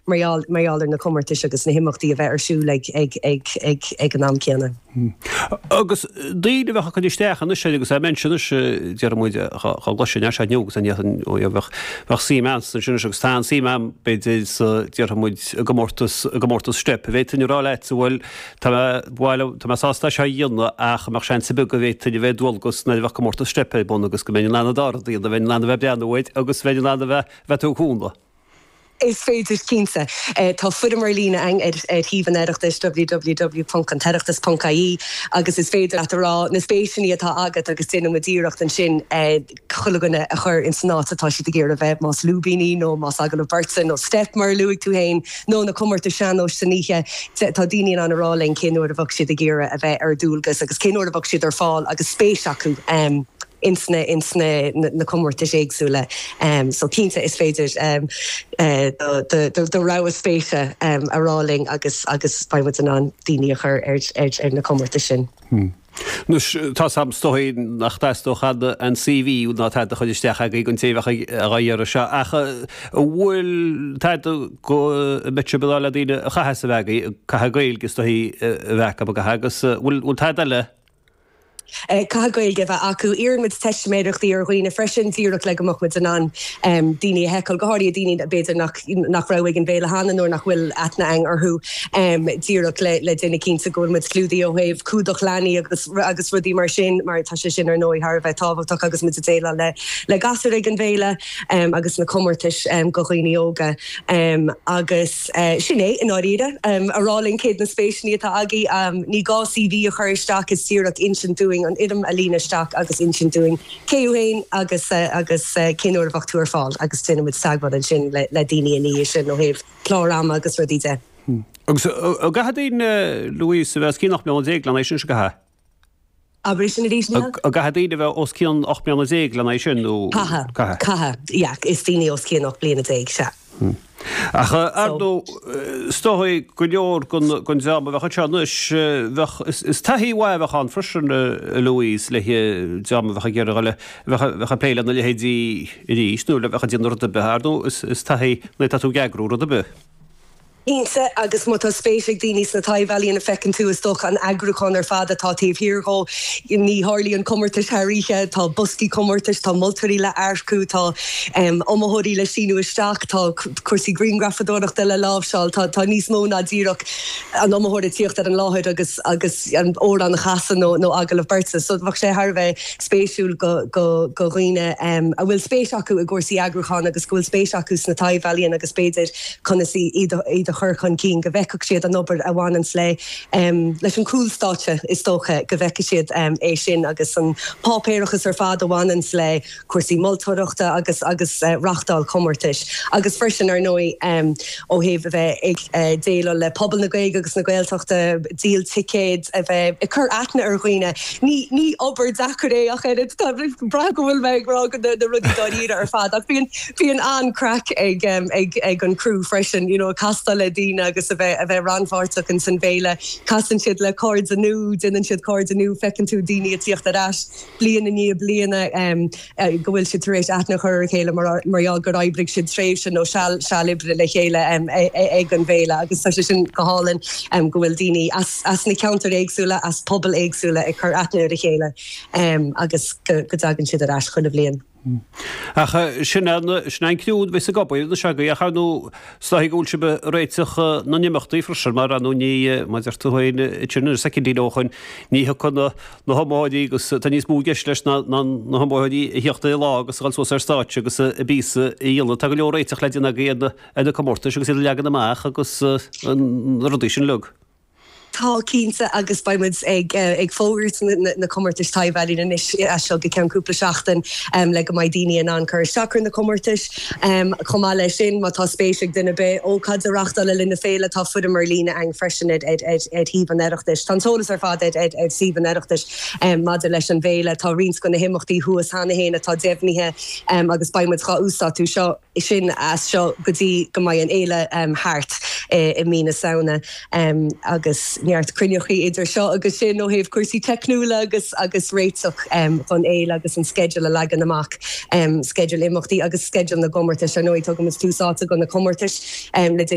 mar gheall mar gheall ar na comórtais agus na himeachtaí a bheith ar siúl ag ag ag ag ag an am céanna. Agus daoine a bheadh ag cur isteach anois air agus é mention anois déarfaidh muid dhá gcloisfinn é seo inniu agus an ndéarfainn ó bheadh bheadh suim a'msa ansin anois agus tá an suim a'm b'fhéidir sa déarfaidh muid i gcomórtas i gcomórtas steip an bhféadfainn a rá leat bhuel tá mé bhuel tá mé sásta é seo a dhéanamh ach an mbeadh seans ar bith go bhféadfainn a bheith ar dualgas nuair a bheadh comórtas steip ar bun agus go mbeinn in ann an dara rud a dhéanamh bheinn in ann a bheith ag breathnú air agus bheinn in ann a bheith bheith ag cúnamh. Is féidir, cinnte. Tá foirm ar líne againn ar shuíomh an Oireachtais, www.antoireachtas.ie, agus is féidir leat a rá na spéiseanna atá agat agus déanann muid iarracht ansin chuile dhuine a chur ins an áit atá siad ag iarraidh a bheith, más lúibíní nó más agallamh beirte nó steip mar a luaigh tú féin, nó na comórtais sean-nóis san oíche. Tá daoine in ann a rá linn cén uair a bheadh siad ag iarraidh a bheith ar dualgas agus cén uair a bheadh siad ar fáil agus spéis acu. ins na ins na na comórtais éagsúla. So cinnte is féidir do do rogha spéise a rá linn agus agus beidh muid in ann daoine a chur ar ar ar na comórtais sin. Anois tá 's a'm is dóigh nach dteastódh an an CV ná tada a chur isteach agaibh don té a bheadh á iarraidh seo ach an bhfuil tada go mbeadh sibh ag rá le daoine a chaithfeas a bheith agaibh, caithfidh Gaeilge is dóigh a bheith acu an gcaithfidh agus bhfuil bhfuil tada eile Caithfidh Gaeilge a bheith acu. Iarrann muid teistiméireachtaí ar dhaoine freisin, díreach le go mbeadh muid in ann daoine a sheiceáil, go háirithe daoine b'fhéidir nach nach raibh ag an bhféile cheana nó nach bhfuil aithne againn orthu, díreach le le déanamh cinnte go bhfuil muid clúdaithe ó thaobh cumhdach leanaí agus agus rudaí mar sin, mar tá sé sin ar ndóigh thar a bheith tábhachtach agus muid ag déileáil le le gasúir ag an bhféile agus na comórtais do dhaoine óga agus. Sin é, i ndáiríre. A rá linn céard na spéiseanna atá agaibh. Ní gá CV a chur isteach, is díreach insint dúinn an fhoirm a líonadh isteach agus insint dúinn cé thú féin agus agus cén uair a bheadh tú ar fáil agus déanfaidh muid teagmháil ansin le daoine ina dhiaidh sin ó thaobh clár ama agus rudaí de. Agus an gcaithfidh daoine, Louise, a bheith os cionn 18 mbliana lena aghaidh sin, an gcaithfidh? Abair sin arís, Niall. An gcaithfidh daoine a bheith os cionn 18 mbliana lena aghaidh sin, nó? Caithfidh. Caithfidh. Caithfidh, yeah. Is daoine os cionn 18 bliana, sea. Ach, ar ndóigh, is dóigh go leor den dream a bheadh anseo anois, bheadh, is taithí mhaith a bheadh ann freisin, a Louise, le dream a bheadh ag iarraidh a dhul, a bheadh ag plé lena leithéidí arís, nó a bheadh ag déanamh rud ar bith, ar ndóigh, is taithí nuair atá tú ag eagrú rud ar bith. Cinnte, agus má tá spéis ag daoine sna taibh-ealaíona, feiceann tú, is dócha, an eagrúchán ar fad atá taobh thiar dhó. Ní tharlaíonn comórtais thar oíche, tá boscaí comórtais, tá moltóirí le earcú, tá iomaitheoirí le síniú isteach, tá cúrsaí grianghrafadóireachta le láimhseáil, tá tá níos mó ná díreach an iomaitheoir ag tíocht ar an láthair agus agus an amhrán a chasadh nó nó agallamh beirte. So bheadh sé thar a bheith spéisiúil go go go dhaoine a bhfuil spéis acu i gcúrsaí eagrúcháin agus go bhfuil spéis acu sna taibh-ealaíona agus b'fhéidir conas iad a chur chun cinn, go bhfeicfeadh siad an obair a bhaineanns le leis an cúlstáitse, is dócha, go bhfeicfidh siad é sin agus an páipéarachas ar fad a bhaineanns le cúrsaí moltóireachta agus agus reachtáil chomórtais. Agus freisin, ar ndóigh, ó thaobh a bheith ag déileáil le pobal na Gaeilge agus na Gaeltachta, díol ticéad, a bheith ag cur aithne ar dhaoine. Ní ní obair deacair é ach oiread, tá brath go bhfuil mé ag rá na rudaí dáiríre ar fad ach bíonn Bíonn an-craic ag ag an crew freisin, you know, ag castáil le daoine agus a bheith a bheith rannpháirteach ins an bhféile. Casann siad le cairde nua, déanann siad cairde nua, feiceann tú daoine ag tíocht ar ais bliain i ndiaidh bliana go bhfuil siad tar éis aithne a chur ar a chéile mar mar gheall gur oibrigh siad tréimhse nó seal seal oibre le chéile ag an bhféile agus tá sé sin go hálainn go bhfuil daoine as as na ceantair éagsúla, as pobail éagsúla ag cur aithne ar a chéile agus go go dtagann siad ar ais chuile bhliain. Ach sin an, sin an criú a bheas ag obair anois agaibh ach ar ndóigh is dóigh go bhfuil sibh ag réiteach na n-imeachtaí freisin mar ar ndóigh ní, mar a deir tú féin ansin soicindín ó shoin, ní thiocfaidh na, na hiomaitheoirí agus tá níos mó i gceist leis ná, ná na hiomaitheoirí a thíocht ar an lá agus a dhul suas ar stáitse agus a bpíosa a dhéanamh. Tá go leor réiteach le déanamh agaibh ar na, ar na comórtais agus iad a leagan amach agus na rudaí sin uilig. Tá, cinnte, agus beidh muid ag fógairt na comórtais taibh-ealaíon anois as seo go ceann cúpla seachtain le go mbeidh daoine in ann cur isteach ar na comórtais. Chomh maith leis sin, má tá spéis ag duine ar bith ócáid a reachtáil le linn na féile, tá foirm ar líne ann freisin ar shuíomh an Oireachtais. Tá an t-eolas ar fad ar shuíomh an Oireachtais maidir leis an bhféile. Tá roinnt de na himeachtaí thuas cheana féin atá deimhnithe agus beidh muid dhá uasdátú seo. sin as seo go dtí go mbeidh an fhéile thart i mí na Samhna agus neart cruinneachaí idir seo agus sin ó thaobh cúrsaí teicniúla agus agus réiteach don fhéile agus an sceideal a leagan amach, sceideal imeachtaí agus sceideal na gcomórtais. Ar ndóigh, tugaimid tús áite do na comórtais le déanaí.